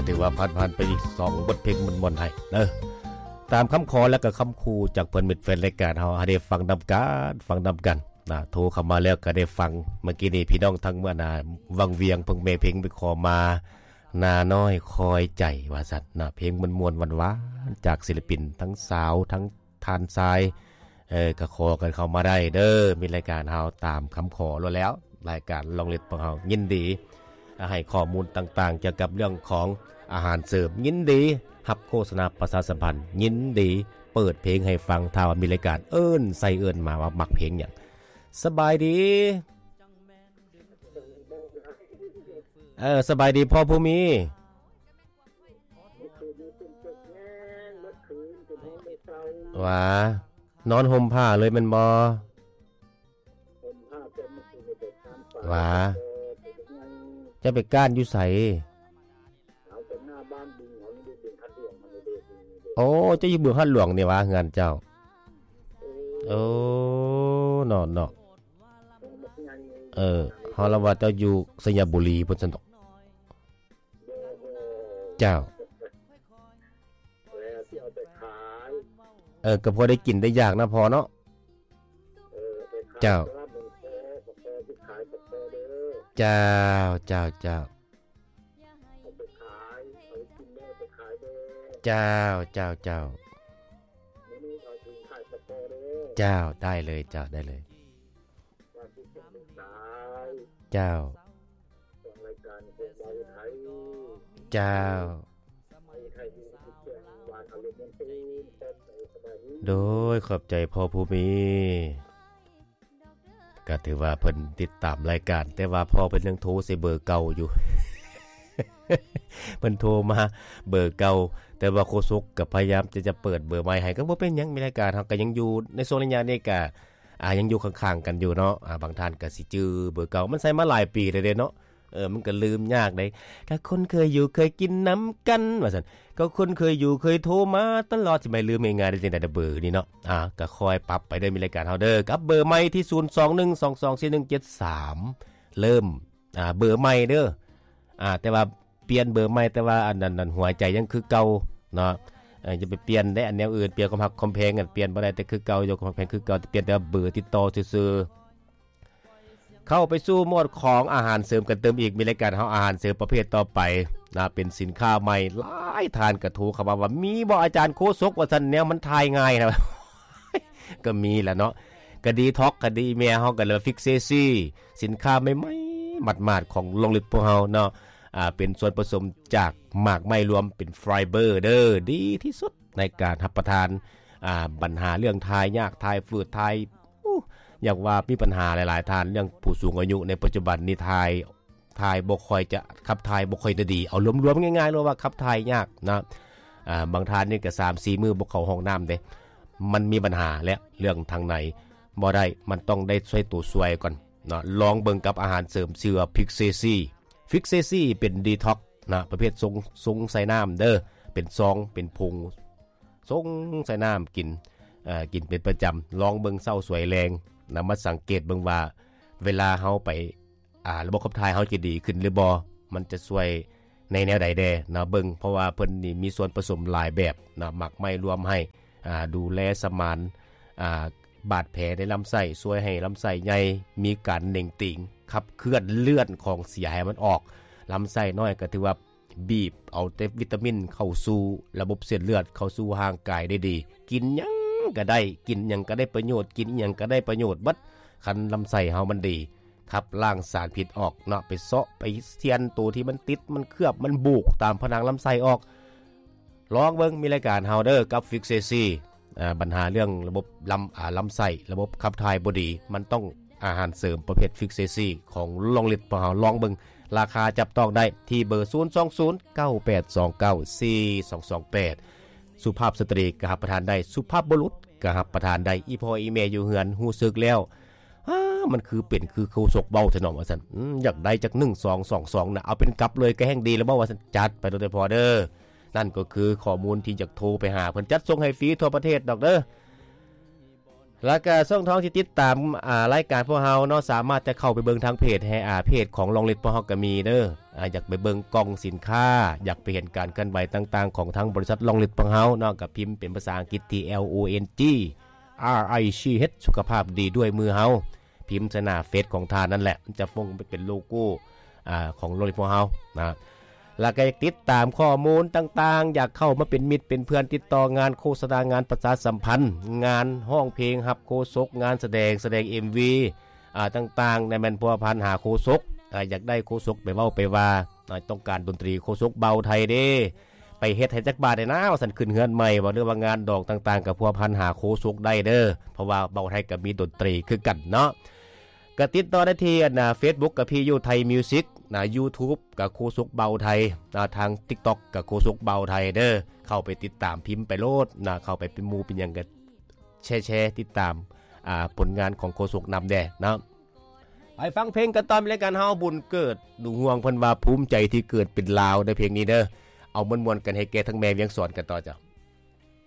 ຖືວ່າຜ່ານໆໄປອີກສອງບົດເພງມ່ວນໆໃຫ້ເດີ ຕາມຄຳຂໍ ແລະກະຄຳຂູ່ຈາກເພື່ອນມິດແຟນລາຍການເຮົາ ໃຫ້ໄດ້ຟັງນຳກັນ ຟັງນຳກັນນະ. ໂທເຂົ້າມາແລ້ວກະໄດ້ຟັງ ເມື່ອກີ້ນີ້ພີ່ນ້ອງທາງເມືອງນາວັງວຽງ ເພິ່ນແມ່ເພງໄປຂໍມາ ນານ້ອຍຄອຍໃຈ ວ່າຊັ້ນນະ. ເພງມ່ວນໆຫວານໆ ຈາກສິລະປິນທັງສາວ ທັງທ່ານຊາຍ ເອີ ກະຂໍກັນເຂົ້າມາໄດ້ເດີ ມີລາຍການເຮົາຕາມຄຳຂໍໂລດແລ້ວ. ລາຍການລອງລິດຂອງເຮົາຍິນດີໃຫ້ຂໍ້ມູນຕ່າງໆ ກ່ຽວກັບເລື່ອງຂອງອາຫານເສີມ ຍິນດີຮັບໂຄສະນາປະຊາສຳພັນ ຍິນດີເປີດເພງໃຫ້ຟັງ ຖ້າວ່າມີລາຍການເອີ້ນໃສ່ເອີ້ນມາວ່າມັກເພງຫຍັງ. ສະບາຍດີ ເອີ ສະບາຍດີພໍ່ຜູ້ມີ. ຫວາ ນອນຫົ່ມຜ້າເລີຍແມ່ນບໍ່? ຫວາ ເຈົ້າໄປກ້ານຢູ່ໃສ? ໂອ້ ເຈົ້າຢູ່ບຶງຫາດຫຼວງນີ້ຫວາ ເຮືອນເຈົ້າ? ໂອ້ ເນາະ ເນາະ ເອີ ເຮົາລະວ່າເຈົ້າຢູ່ໄຊຍະບູລີພຸ້ນຊັ້ນດອກ. ເຈົ້າ ເອີ ກະພໍໄດ້ກິນໄດ້ຢາກນະພໍ່ເນາະ. ເຈົ້າ ເຈົ້າ ເຈົ້າ ເຈົ້າ ເຈົ້າ ເຈົ້າ ເຈົ້າ ເຈົ້າ ໄດ້ເລີຍ ເຈົ້າ ໄດ້ເລີຍ. ເຈົ້າ ເຈົ້າ ໂດຍ ຂອບໃຈພໍ່ຜູ້ມີ. ກະຖືວ່າເພິ່ນຕິດຕາມລາຍການ ແຕ່ວ່າພໍ່ເພິ່ນຍັງໂທໃສ່ເບີເກົ່າຢູ່ ເພິ່ນໂທມາເບີເກົ່າ ແຕ່ວ່າໂຄສົກກະພະຍາຍາມທີ່ຈະເປີດເບີໃໝ່ໃຫ້ ກະບໍ່ເປັນຫຍັງ ມີລາຍການເຮົາກະຍັງຢູ່ ໃນຊ່ວງໄລຍະນີ້ກະ ອ່າ ຍັງຢູ່ຂ້າງໆກັນຢູ່ເນາະ. ອ່າ ບາງທ່ານກະຊິຈື່ເບີເກົ່າ ມັນໃຊ້ມາຫຼາຍປີແລ້ວເດ້ເນາະ. ເອີ ມັນກະລືມຍາກເດ້ ກະຄົນເຄີຍຢູ່ເຄີຍກິນນຳກັນ ວ່າຊັ້ນ ກະຄົນເຄີຍຢູ່ເຄີຍໂທມາຕະຫຼອດ ຊິໄປລືມງ່າຍໆໄດ້ຈັ່ງໃດເບີນີ້ເນາະ. ອ່າ ກະຄ່ອຍປັບໄປເດີ ມີລາຍການເຮົາເດີ ກັບເບີໃໝ່ທີ່ ສູນສອງໜຶ່ງສອງສອງສີ່ໜຶ່ງເຈັດສາມ ເລີ່ມ ອ່າ ເບີໃໝ່ເດີ. ອ່າ ແຕ່ວ່າປ່ຽນເບີໃໝ່ ແຕ່ວ່າອັນນັ້ນ ອັນຫົວໃຈຍັງຄືເກົ່າເນາະ. ເອີ ຢ່າໄປປ່ຽນເດ້ ອັນແນວອື່ນ ປ່ຽນຄວາມຮັກຄວາມແພງ ປ່ຽນບໍ່ໄດ້ ແຕ່ຄືເກົ່າ ຢູ່ຄວາມຮັກຄວາມແພງຄືເກົ່າ ປ່ຽນແຕ່ເບີຕິດຕໍ່ຊື່ໆ. ເຂົ້າໄປສູ່ໝວດຂອງອາຫານເສີມກັນຕື່ມອີກ ມີລາຍການເຮົາອາຫານເສີມປະເພດຕໍ່ໄປນະ ເປັນສິນຄ້າໃໝ່. ຫຼາຍທ່ານກະໂທເຂົ້າມາວ່າ ມີບໍ່ອາຈານໂຄສົກ ວ່າຊັ້ນ ແນວມັນຖ່າຍງ່າຍນະ. ກະມີລະເນາະ ກະດີທັອກ ກະດີ ແມ່ເຮົາກະເລີຍ ຟິກເຊຊີ ສິນຄ້າໃໝ່ໆ ໝາດໆ ຂອງລອງລິດພວກເຮົາເນາະ. ອ່າ ເປັນສ່ວນປະສົມຈາກໝາກໄມ້ລວມ ເປັນໄຟເບີເດີ ດີທີ່ສຸດໃນການຮັບປະທານ. ອ່າ ບັນຫາເລື່ອງຖ່າຍຍາກ ຖ່າຍຝືດ ຖ່າຍ ໂອ້ ຢາກວ່າມີບັນຫາຫຼາຍໆທ່ານ ເລື່ອງຜູ້ສູງອາຍຸໃນປັດຈຸບັນນີ້ ຖ່າຍ ຖ່າຍບໍ່ຄ່ອຍຈະ ຂັບຖ່າຍບໍ່ຄ່ອຍຈະດີ. ເອົາລວມໆ ງ່າຍໆ ເລີຍວ່າຂັບຖ່າຍຍາກນະ. ອ່າ ບາງທ່ານນີ້ກະສາມສີ່ມື້ບໍ່ເຂົ້າຫ້ອງນ້ຳເດ້ ມັນມີບັນຫາແຫຼະ ເລື່ອງທາງໃນບໍ່ໄດ້ ມັນຕ້ອງໄດ້ໃຊ້ໂຕຊ່ວຍກ່ອນເນາະ. ລອງເບິ່ງກັບອາຫານເສີມ ຊື່ວ່າ ຟິກເຊຊີ ຟິກເຊຊີ ເປັນດີທັອກນະ ປະເພດຊົງ ຊົງໃສ່ນ້ຳເດີ ເປັນຊອງ ເປັນຜົງ ຊົງໃສ່ນ້ຳກິນ ເອີ ກິນເປັນປະຈຳ. ລອງເບິ່ງເຊົ້າສວຍແລງນະ ມາສັງເກດເບິ່ງວ່າ ເວລາເຮົາໄປ ອ່າ ລະບົບຂັບຖ່າຍເຮົາຈະດີຂຶ້ນຫຼືບໍ່ ມັນຈະຊ່ວຍໃນແນວໃດແດ່ນະ ເບິ່ງ ເພາະວ່າເພິ່ນນີ້ມີສ່ວນປະສົມຫຼາຍແບບນະ ໝາກໄມ້ລວມໃຫ້ ອ່າ ດູແລສະໝານ ອ່າ ບາດແຜໃນລຳໄສ້ ຊ່ວຍໃຫ້ລຳໄສ້ໃຫຍ່ ມີການເໜັງຕີງ ຂັບເຄື່ອນເລືອດຂອງເສຍໃຫ້ມັນອອກ. ລຳໄສ້ນ້ອຍກະຖືວ່າ ບີບເອົາແຕ່ວິຕາມິນເຂົ້າສູ່ລະບົບເສັ້ນເລືອດ ເຂົ້າສູ່ຮ່າງກາຍໄດ້ດີ. ກິນຫຍັງກະໄດ້ ກິນຫຍັງກະໄດ້ປະໂຫຍດ ກິນອີ່ຫຍັງກະໄດ້ປະໂຫຍດເບິດ ຄັນລຳໄສ້ເຮົາມັນດີ. ຂັບລ້າງສານພິດອອກເນາະ ໄປເຊາະໄປຊຽນໂຕທີ່ມັນຕິດ ມັນເຄືອບ ມັນບູກຕາມຜະໜັງລຳໄສ້ອອກ. ລອງເບິ່ງ ມີລາຍການເຮົາເດີ ກັບ ຟິກເຊຊີ ອ່າ ບັນຫາເລື່ອງລະບົບລຳ ອ່າ ລຳໄສ້ ລະບົບຂັບຖ່າຍບໍ່ດີ ມັນຕ້ອງອາຫານເສີມປະເພດ ຟິກເຊຊີ ຂອງລອງລິດພວກເຮົາ. ລອງເບິ່ງ ລາຄາຈັບຕ້ອງໄດ້ທີ່ເບີ ສູນສອງສູນ ເກົ້າແປດສອງເກົ້າ ສີ່ສອງສອງແປດ. ສຸພາບສະຕຣີກະຮັບປະທານໄດ້ ສຸພາບບຸລຸດກະຮັບປະທານໄດ້. ອີ່ພໍ່ອີ່ແມ່ຢູ່ເຮືອນຮູ້ສຶກແລ້ວ ອ້າ ມັນຄືເປັນຄືໂຄສົກເວົ້າແທ້ເນາະ ວ່າຊັ້ນ. ອືມ ຢາກໄດ້ຈັກໜຶ່ງສອງສອງສອງນະ ເອົາເປັນກັບເລີຍກະແຮ່ງດີແລ້ວບໍ່ ວ່າຊັ້ນ. ຈັດໄປໂລດເດີພໍ່ເດີ. ນັ້ນກໍຄືຂໍ້ມູນທີ່ຢາກໂທໄປຫາເພິ່ນ ຈັດສົ່ງໃຫ້ຟຣີທົ່ວປະເທດດອກເດີ. ມີບໍ່ ແລ້ວກະຊ່ອງທາງທີ່ຕິດຕາມ ອາ ລາຍການພວກເຮົາເນາະ ສາມາດຈະເຂົ້າໄປເບິ່ງທາງເພຈ ແຮ ອາ ເພຈຂອງລອງລິດພວກເຮົາກະມີເດີ. ອາ ຢາກໄປເບິ່ງກ່ອງສິນຄ້າ ຢາກໄປເຫັນການເຄື່ອນໄຫວຕ່າງໆຂອງທາງບໍລິສັດລອງລິດພວກເຮົາເນາະ ກະພິມເປັນພາສາອັງກິດທີ່ L O N G R I C H ສຸຂະພາບດີດ້ວຍມືເຮົາ ພິມໃສ່ໜ້າເຟສຂອງທ່ານນັ້ນແຫຼະ ມັນຈະຟົງໄປເປັນໂລໂກ້ ອາ ຂອງໂລງຮຽນພວກເຮົານະ ແລ້ວກໍຢາກຕິດຕາມຂໍ້ມູນຕ່າງໆ ຢາກເຂົ້າມາເປັນມິດເປັນເພື່ອນ ຕິດຕໍ່ງານໂຄສະນາ ງານປະຊາສຳພັນ ງານຮ້ອງເພງຮັບໂຄສົກ ງານສະແດງ ສະແດງເອັມວີ ອາ ຕ່າງໆ ແມ່ນພົວພັນຫາໂຄສົກ ອາ ຢາກໄດ້ໂຄສົກໄປເວົ້າໄປວ່າ ອາ ຕ້ອງການດົນຕີໂຄສົກເບົາໄທເດ້ ໄປເຮັດໃຫ້ຈັກບາດແດ່ນາ ວ່າຊັ້ນ ຂຶ້ນເຮືອນໃໝ່ບໍ່ ຫຼືວ່າງານດອງຕ່າງໆ ກໍພົວພັນຫາໂຄສົກໄດ້ເດີ ເພາະວ່າເບົາໄທກໍມີດົນຕີຄືກັນເນາະ. ກໍຕິດຕໍ່ໄດ້ທີ່ອັນ Facebook ກໍພີຢູ່ໄທມິວສິກນະ YouTube ກໍໂຄສົກເບົາໄທນະ ທາງ TikTok ກໍໂຄສົກເບົາໄທເດີ ເຂົ້າໄປຕິດຕາມ ພິມໄປໂລດນະ ເຂົ້າໄປເປັນໝູ່ເປັນຫຍັງກໍແຊໆ ຕິດຕາມ ອາ ຜົນງານຂອງໂຄສົກນຳແດ່ເນາະ. ໄປຟັງເພງກັນຕໍ່ ມີລາຍການເຮົາບຸນເກີດ ລຸງຮ່ວງເພິ່ນວ່າພູມໃຈທີ່ເກີດເປັນລາວເດີ ເພງນີ້ເດີ ເອົາມ່ວນໆ ກັນໃຫ້ແກ່ທັງແມ່ວຽງສອນກັນຕໍ່ເຈົ້າ.